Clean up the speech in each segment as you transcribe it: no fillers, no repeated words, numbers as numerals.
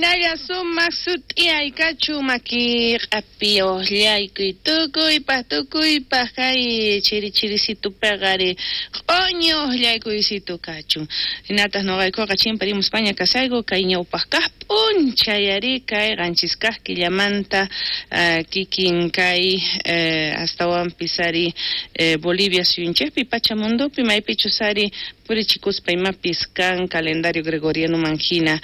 Hinalla sumaq sut'iyay kachun maki q'api uqllaykuy tukuypaq tukuypaq kay chiri chirisitupiqa ari q'oñi uqllaykuysitu kachun. Hinataq nuqaykuqa chimparimuspaña kasayku kay ñawpaq kaq p'unchay ari kay 7 kaq killamanta kikin kay astawanpis ari Bolivia suyunchikpi Pachamundupi maypichus ari purichikuspa imapis kan calendario gregorianoman hina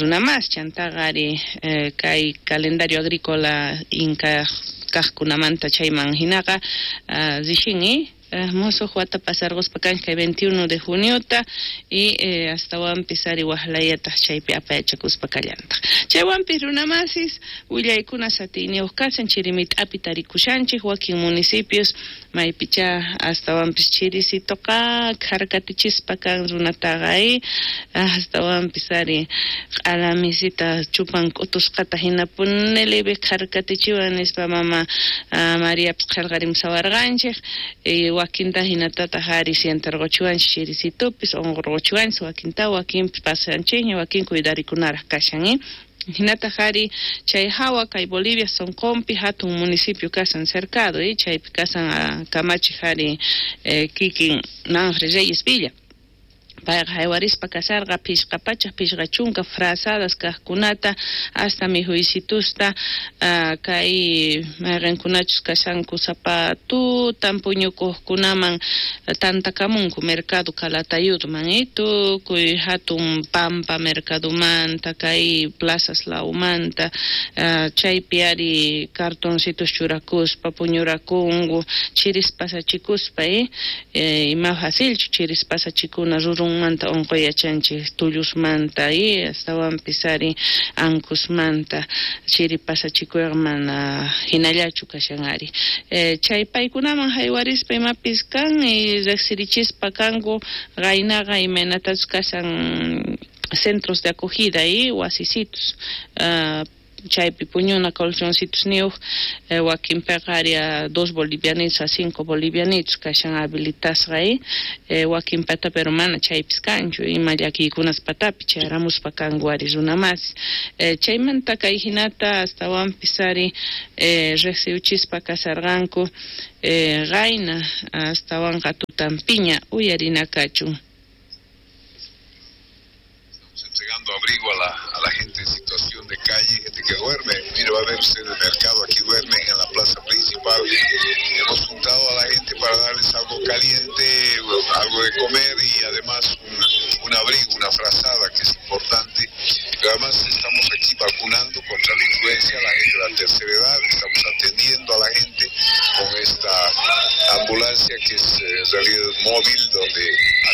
runamas chantaqa ari kay calendario agrícola inka kaqkunamanta chayman hinaqa rishin musuq wata pasarquspa kanchik kay 21 de juniota y astawanpis ari waqlayataq chaypi apayachakuspa kallantaq. Chaywanpis runamasis willaykuna satiyniyuq kashan chirimit'api tarikushanchik wakin municipios maypicha astawanpis chirisituqa kharkatichispa kan runataqa astawanpis ari q'alamisita chupan k'utusqata hinapuni libe kharkatichiwan nispa mama Mariapis qillqarimusawarqanchik wakinta hinatataq ari sientarquchiwanchik chirisitupis unqurquchiwanchik wakinta wakinpis pasanchikña wakin cuidarikunaraq kashan. Hinataq ari chay hawa kay Bolivia sunqunpi hatun municipio kasan Cercado chaypi kasan kamachiq ari kikin Manfred Reyes Villa. Payqa haywarispa kasarqa 550 frazadas kaqkunata hasta mihuysitusta kay mayqinkunachus kashanku sapa tutan puñukuqkunaman tantakamunku mercado Calatayudman tukuy hatun pampa mercadomanta kay plazas lawmanta chaypi ari cartoncitos churakuspa puñurakunku chiris pasachikuspa ima facilchu chiris pasachikuna rurunmanta unquy yachanchik tullusmanta astawanpis ari ankusmanta chiri pasachikuyqa mana hinallachu kashan ari chay paykunaman haywarispa imapis kan riqsirichispa kanku qaynaqa imaynatachus kashan centros de acogida wasisitos chaypi puñuna colchoncitos niyuq wakinpiqa ari 2 bolivianitos a 5 bolivianitos kashan habilitasqa wakinpata pero mana chaypis kanchu ima llakiykunas patapi chayaramuspa kanku ari runamasis chaymanta kay hinata astawanpis ari riqsiwchispa kasarqanku qayna astawanqa tutanpiña uyarina kachun. Entregando abrigo a la gente en situación de calle, gente que duerme. Mire, va a ver usted el mercado, aquí duermen en la plaza principal. Hemos juntado a la gente para darles algo caliente, algo de comer y además un abrigo, una frazada que es importante. Pero además estamos aquí vacunando contra la influenza a la gente de la tercera edad, estamos atendiendo a la gente con esta ambulancia que es en realidad móvil, donde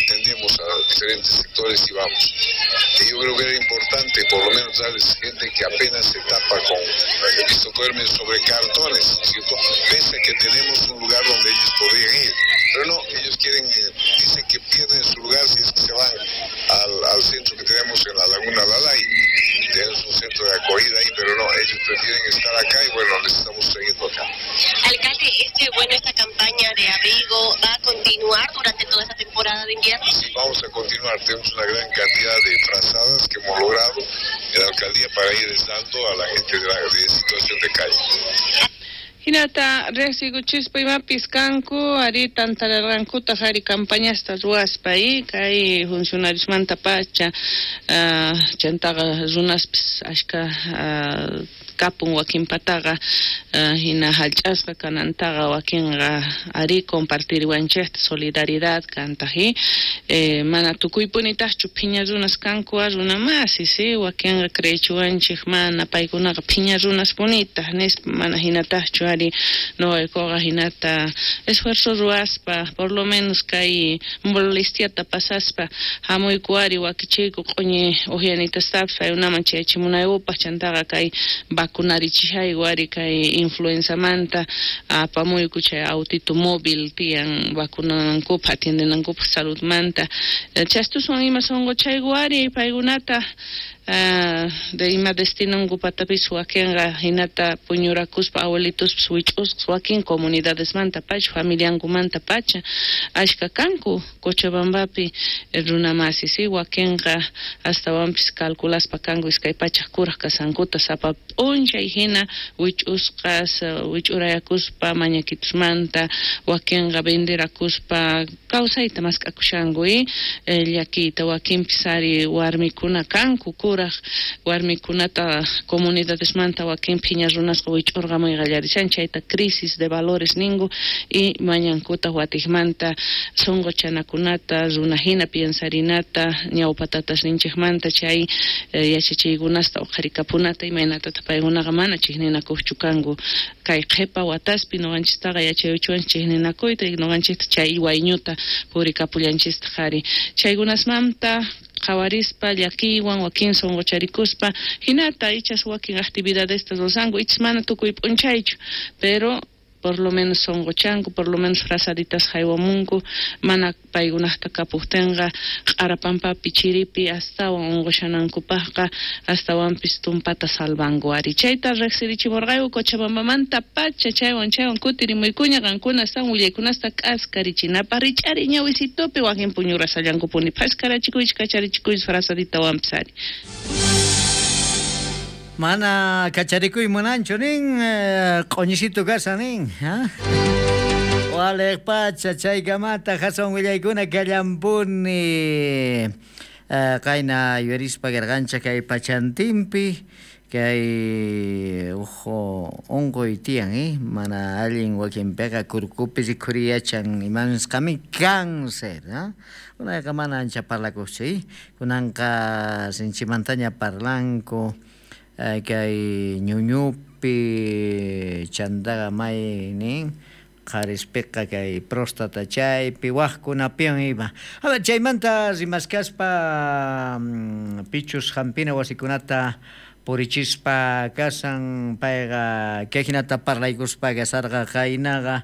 atendemos a diferentes sectores y vamos. Y yo creo que era importante por lo menos darles gente que apenas se tapa con, he visto duermen sobre cartones, ¿cierto? Pese a que tenemos un lugar donde ellos podrían ir, pero no, ellos quieren, dicen que pierden su lugar si es que se van al centro que tenemos en la Laguna Lalay. Tenemos un centro de acogida ahí, pero no, ellos prefieren estar acá y bueno, les estamos trayendo acá. Alcalde, esta campaña de abrigo va a continuar durante toda esta temporada de invierno. Sí, vamos a continuar, tenemos una gran cantidad de frazadas que hemos logrado en la alcaldía para ir dando a la gente de situación de calle. Hinata riqsikuchispa imapis kanku ari tantararqankutaq ari campañasta ruwaspa kay funcionariosmanta pacha chantaqa runaspis ashka kapun wakinpataqa hina hallch'asqa kanantaqa wakinqa ari compartiriwanchikta solidaridad kantaq mana tukuypunitaqchu phiña runas kanku runamasis wakinqa creechiwanchik mana paykunaqa phiña runas punitaq nispa mana hinataqchu ari nuqaykuqa hinata esfuerzo ruwaspa por lo menos kay molestiata pasaspa hamuyku ari wakichiyku q'uñi uqyanitastapis paykunaman chayachimunaykupaq chantaqa kay vacunarichishayku ari kay influenzamanta apamuyku chay autito móvil tiyan vacunankupaq atiendenankupaq saludmanta chastuswan ima sunquchayku ari paykunata De ima destinonkupatapis wakinqa hinata puñurakuspa abuelitospis wich'usqas wakin comunidadesmanta pacha familiankumanta pacha ashka kanku Cochabambapi runamasi si wakinqa astawanpis calculaspa kanku 200 kuraj kasankuta sapa p'unchay hina wich'usqas wich'urayakuspa mañakitusmanta wakinqa venderakuspa kawsayta mask'akushanku llakiyta wakinpis ari warmikuna kanku kuraj warmikunata comunidadesmanta wakin phiña runasqa wich'urqamuy qallarishan chayta crisis de valores ninku y mañankuta watikmanta sunquchanakunata runahina piensarinata ñawpa tatasninchikmanta chay yachachiykunasta uqharikapunata imaynatataq paykunaqa mana chiqninakuqchu kanku kay qhipa wataspi nuqanchistaqa yachayuchuwanchik chiqninakuyta y nuqanchikta chay wayñuta purikapullanchistaq ari chaykunasmanta qhawarispa llakiywan wakin sunqucharikuspa hinata ichas wakin actividadesta ruranku ichas mana tukuy p'unchaychu pero por lo menos sunquchanku por lo menos frazaditas haywamunku mana paykunaqta kapuqtinqa q'arapampapi chiripi astawan unqushanankupaqqa astawanpis tumpata salvanku ari chayta riqsirichimurqayku Cochabambamanta pacha chaywan chaywan kutirimuykuña qankuna astawan willaykunasta k'askarichinapaq rich'ari ñawisitupi wakin puñurasallankupuni phaskarachikuychik kacharichikuychik frazaditawanpis ari. Mana kacharikuy munanchu nin q'uñisitu kashan nin Waliq pacha chaykamata hasan willaykuna kallampuni qayna yuyarispa karqanchik kay pachantinpi kay uj unquy tiyan mana allin wakinpiqa kurkupi rikhuriyachan imanisqami cáncer unayqa mana ancha parlakuqchu kunanqa sinchimantaña parlanku kay ñuñupi chantaqa may nin qharispiqa kay próstata chaypi waqkunapiwan ima. Chaymanta rimaskaspa pichus hampina wasikunata purichispa kasan payqa kay hinata parlaykuspa kasarqa qaynaqa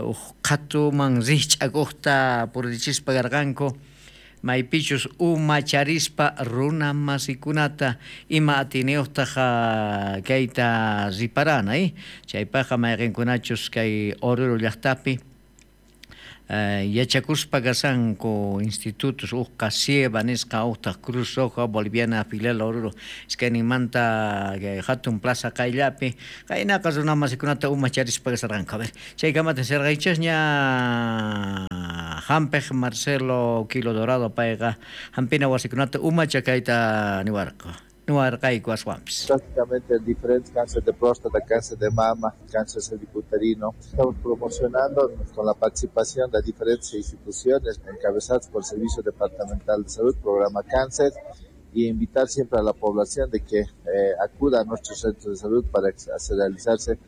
uj qhatuman rikch'akuqta purichispa karqanku maypichus umacharispa runa masikunata ima atiniyuqtaq kayta riparana chaypaqqa mayqinkunachus kay Oruro llaqtapi yachakuspa kasanku institutos uqqa Sieva nisqa uqtaq Cruz Roja Boliviana filial Oruro iskayninmanta hatun plaza qayllapi qaynaqa runa masikunata umacharispa kasarqanku. A ver chaykamata sirqaychasña hampiq Marcelo Kilo Dorado payqa hampina wasikunata umacha kayta niwarqa. Prácticamente diferentes cáncer de próstata, cáncer de mama, cáncer cervicuterino. Estamos promocionando con la participación de diferentes instituciones encabezadas por el Servicio Departamental de Salud, Programa Cáncer, y invitar siempre a la población de que acuda a nuestros centros de salud para realizarse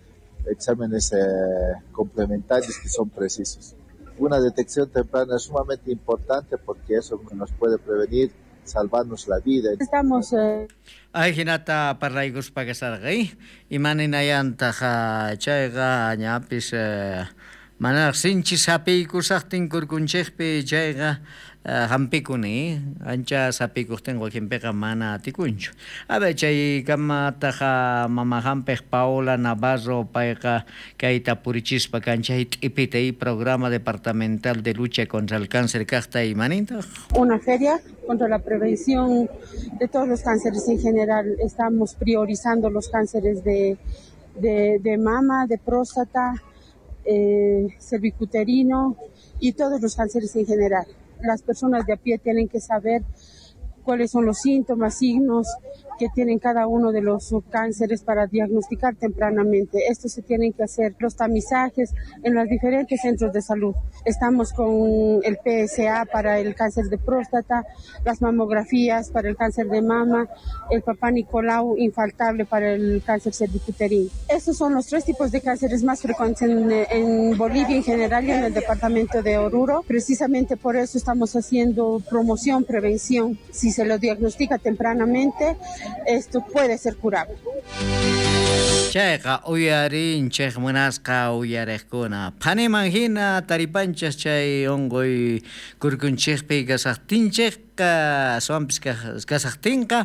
exámenes complementarios que son precisos. Una detección temprana es sumamente importante porque eso nos puede prevenir, salvarnos la vida. Estamos Ay hinata parlaykuspa kasarqa imaninayantaq chayqa ñapis manaraq sinchi sapiykusaqtin kurkunchikpi chayqa hampikuni ancha sapiykuqtin wakinpiqa mana atikunchu. A ver chaykamataqa mama hampiq Paola Navarro payqa kayta purichispa kanchay t'ipita programa departamental de lucha contra el cáncer kaqta imanintaq. Una feria contra la prevención de todos los cánceres en general. Estamos priorizando los cánceres de mama, de próstata, cervicuterino y todos los cánceres en general. Las personas de a pie tienen que saber cuáles son los síntomas, signos que tienen cada uno de los cánceres para diagnosticar tempranamente. Esto se tienen que hacer los tamizajes en los diferentes centros de salud. Estamos con el PSA para el cáncer de próstata, las mamografías para el cáncer de mama, el Papá Nicolau infaltable para el cáncer cervicuterino. Estos son los tres tipos de cánceres más frecuentes en Bolivia en general y en el departamento de Oruro. Precisamente por eso estamos haciendo promoción, prevención. Si se lo diagnostica tempranamente, esto puede ser curable. Chayqa uyarinchej munasqa uyariqkuna. Phaniman hina taripanchis chay unquy kurkunchikpi kasaqtinchikqa aswanpis kasaqtinqa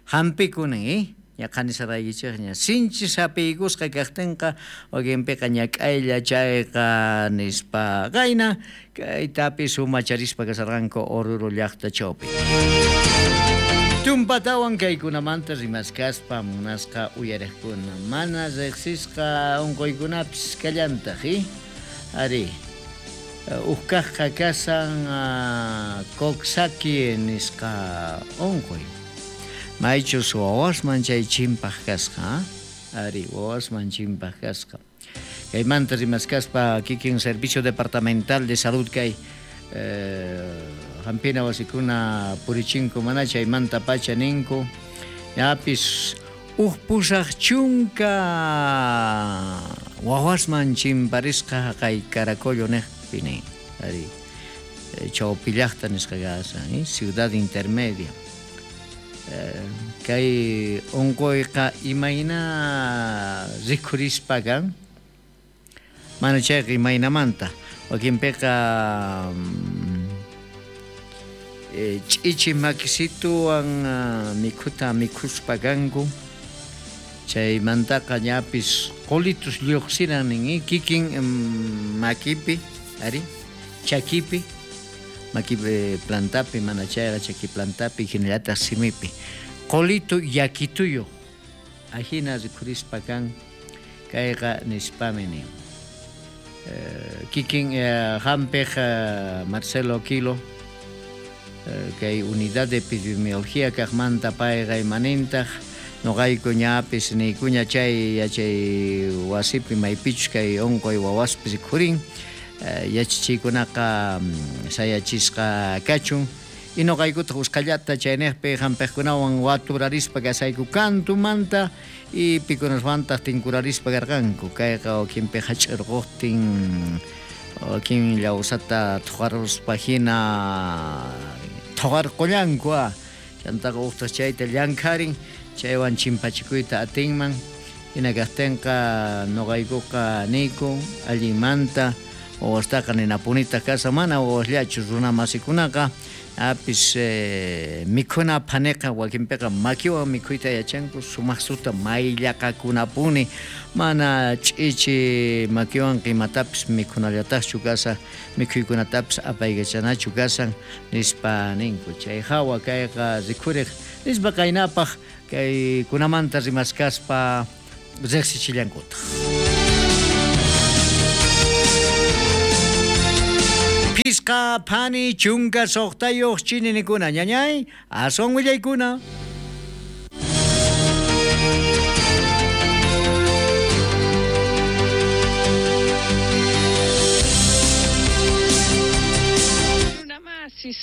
hampikunin, ñaqhanisaraykichikña sinchi sapiykusqa kaqtinqa wakinpiqa ñak'aylla chayqa nispa qayna kaytapis sumacharispa kasarqanku Oruro llaqta chawpi. Tumpatawan kaykunamanta rimaskaspa munasqa uyariqkuna mana riqsisqa unquykunapis kallantaq, ari ukkaqqa kasan Coxsackie nisqa unquy. Maychus wawasman chay chimpaq kasqa, ari wawasman chimpaq kasqa. Kaymanta rimaskaspa kikin Servicio Departamental de Salud kay hampina wasikuna purichinku mana chaymanta pacha ninku ñapis uj pusaq chunka wawasman chimparisqa kay Caracollo niqpi nin, ari chawpi llaqta nisqa kasan, Ciudad Intermedia. Kay unquyqa imayna rikhurispa kan mana chayqa imaynamanta wakinpiqa ch'ichi makisituwan mikhuta mikhuspa kanku chaymantaqa ñapis qulitus lluqsiran nin kikin makipi ari chakipi maki plantapi mana chayqa chaki plantapi hinallataq simipi qulitu yakituyuq ajina rikhurispa kan kayqa nispami nin. Kikin hampiq Marcelo Quilo kay unidad de epidemiología kaqmanta payqa imanintaq noqayku ñapis niykuña chay yachay wasipi maypichus kay unquy wawaspi rikhurin yachachiykunaqa sayachisqa kachun y noqaykutaq usqhallata chayniqpi hampiqkunawan waturarispa kasayku kantumanta y pikunaswantaq tinkurarispa karqanku kayqa wakinpi hach'irquqtin wakin llawsata thuqaruspa hina thuqarqullanku chantaqa uqtaq chayta llankharin chaywan chimpachikuyta atinman hina kaqtinqa noqaykuqa niyku allinmanta wawastaqa ninapunitaq kasa mana wawasllachu runa masikunaqa apis mikhuna phaniqa wakinpiqa makiwan mikhuyta yachanku sumaqsuta mayllaqakunapuni mana ch'ichi makiwan imatapis mikhunallataqchu kasa mikhuykunatapis apaykachanachu kasan nispa ninku chay hawa kayqa rikhuriq nispa qaynapaq kaykunamanta rimaskaspa riqsichillankutaq. Pisqa phani chunka suqtayuq chininikuna ñañay aswan willaykuna.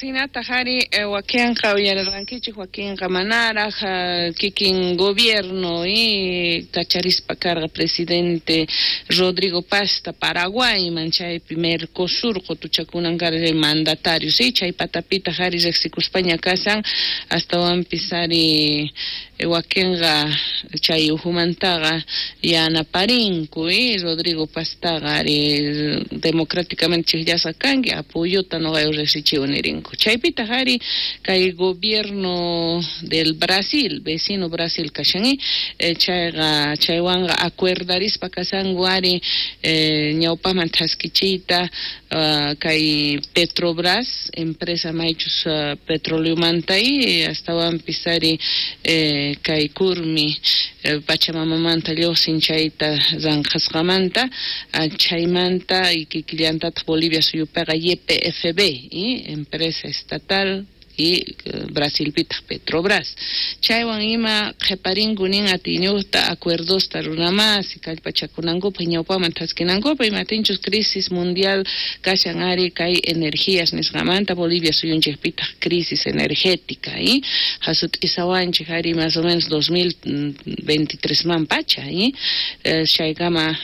Sinataq ari wakinqa uyarirqankichik wakinqa manaraq kikin gobierno kacharispa karqa presidente Rodrigo Pasta Paraguayman chaypi Mercosur qutuchakunan karqa mandatario chay patapitaq ari riqsikuspaña kasan astawanpis ari wakinqa chay uhumantaqa yanaparinku Rodrigo Pastaqa ari democráticamente chiqllasqa kanki apoyota noqayku riqsichiwan nirinku. Chaypitaq ari kay gobierno del Brasil, vecino Brasil kashan chayqa chaywanqa acuerdarispa kasanku ari ñawpaman thaskichiyta kay Petrobras empresa maychus petroleomanta astawanpis ari kay kurmi Pachamamamanta lluqsin chayta ranqhasqamanta chaymanta kikillantataq Bolivia suyupiqa YPFB empresa estatal y Brasilpitaq Petrobras chaywan ima qhiparinku nin atiyniyuqta acuerdosta runamasi kallpachakunankupaq ñawpaman thaskinankupaq imatinchus crisis mundial kashan ari kay energías nisqamanta Bolivia suyunchikpitaq crisis energética hasut'isawanchik ari más o menos 2023 man pacha chaykama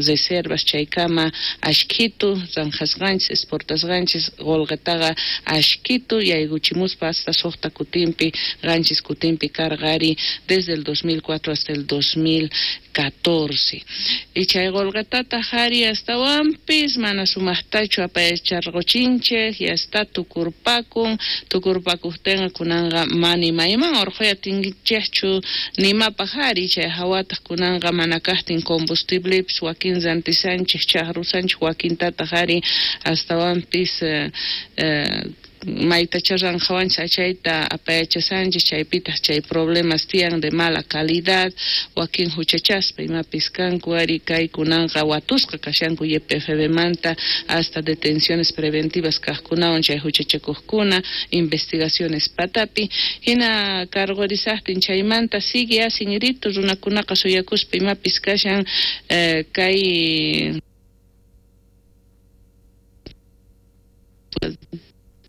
reservas chaykama ashkitu ranqhasqanchis exportasqanchis qullqitaqa ashkitu yaykuchimusqa. chayarimuspa hasta suqta kutinpi, qanchis kutinpi karqa ari desde el 2004 hasta el 2014. Y chay qolqetataq ari astawanpis mana sumaqtachu apayacharquchinchej y hasta tukurpakun, tukurpakuqtinqa kunanqa mani mayman urquy atinchejchu nimapaq ari chay hawataq kunanqa mana kaqtin combustiblepis wakin rantisanchej chaqrusanchej wakintataq ari astawanpis maytacha ranqhawanchis achayta apayachasanchis chaypitaq chay problemas tiyan de mala calidad wakin huchachaspa imapis kanku ari kay kunanqa watusqa kashanku YPFB manta hasta detenciones preventivas kaqkunawan chay huchachakuqkuna investigaciones patapi hina cargorisaqtin chaymanta sigue asinrito runakunaqa suyakuspa imapis kashan kay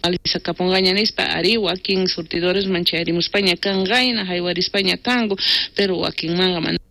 alisakapunqaña nispa ari wakin surtidores manchayarimuspaña kanqayna haywarispaña kanku pero wakinmanqa mana.